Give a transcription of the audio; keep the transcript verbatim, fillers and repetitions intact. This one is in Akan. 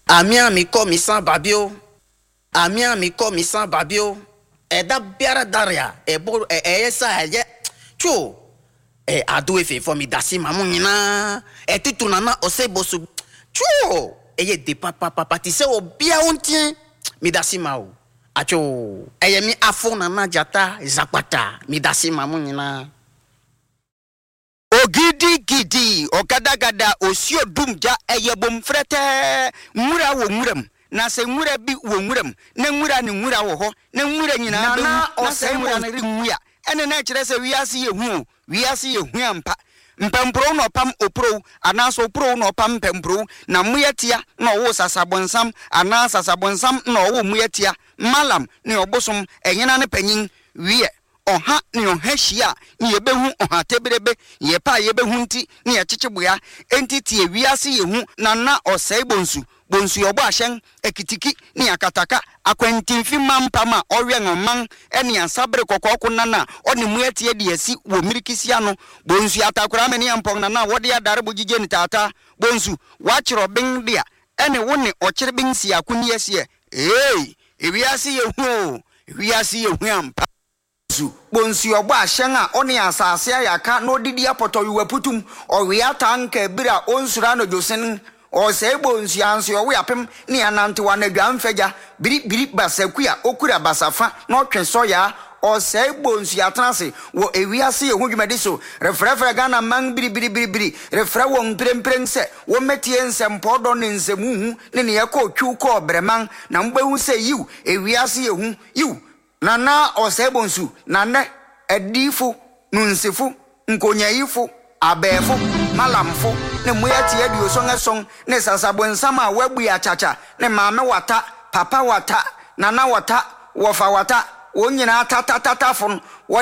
Amia mi kɔ mi san babio. Amia mi kɔ mi san babio. Ɛda biara daria ɛbɔ ɛyɛ sa ɛyɛ tso ɛ ado efe fɔ mi dasi ma mu nyinaa ɛtutu nana ɔsɛ bosu tso ɛyɛ de papapapa ti sɛ obia wo ntiɛ mi dasi ma o atso ɛyɛ mi afo nana jata zapata mi dasi ma mu nyinaa. Ogidigidi ɔgadagada osuo dumgya ɛyɛ bom frɛtɛɛ nwura wɔ nwuram na sɛ nwura bi wɔ nwuram na nwura ne nwura wɔ hɔ na nwura nyinaa bɛwu Nana na sɛ ɔsɛe nwura no renwu a ɛne na ɛkyerɛ sɛ wiase yɛ hu o wiase yɛ hu ampa mpɛmporɔw na ɔpam opurow anaasɛ opurow na ɔpam mpɛmporɔw na mmoatia na ɔwoo sasabonsam anaa sasabonsam na ɔwoo mmoatia malam ne ɔbosom ɛhena ne panyin wiɛ ɔha ne ɔha hyia a ne yɛbɛhu ɔha teberebe yɛpɛ a yɛbɛhu nti ne yɛkyekye boa enti tie wiase yɛ hu na na ɔsɛe bonsu bonsu ɔbɔ ahyɛn akitiki ne akataka akwantimfi mampam a ɔwɛn ɔman ne asabere kɔkɔɔko nana a ɔne mmoatia de asi wɔ mmirikisi ano bonsu atakora me ne mpɔn nana a wɔde adare bo gyigye ne taataa bonsu wakyerɛ ɔben de a ɛne wo ne ɔkyere ben si akonni asiɛ ee ewiase yɛ hu o ewiase yɛ hu ampa su bonsu ɔbɔ ahyɛn a ɔne asase ayaka na ɔdidi apɔtɔwewa putum ɔwea tanka ebere a ɔnsuro anadwo ɔsɛe bonsu anso ɔwe apem ne anantew anadwa mfagya biribiri basaku a okura basafa na ɔtwe sɔyaa ɔsɛe bonsu atena ase wɔ ewiase yɛ ho dwumadi so refrɛfrɛ Ghana man biribiribiribiri refrɛ wɔn mprempren sɛ wɔmmɛtie nsɛmpɔdɔ ne nsɛmuhu ne neɛ ɛkɔɔ twiw kɔɔ brɛman na mobɛhu sɛ yiw ewiase yɛ hu yiw nana ɔsɛe bonsu na nnɛ adiyifo nunsifo nkonyayifo abɛɛfo malamfo ne mmoatia aduoson ason ne sasabonsam a wɔabue akyakya ne maame wata papa wata nana wata wɔfa wata wɔn nyinaa tatatatafo no wɔde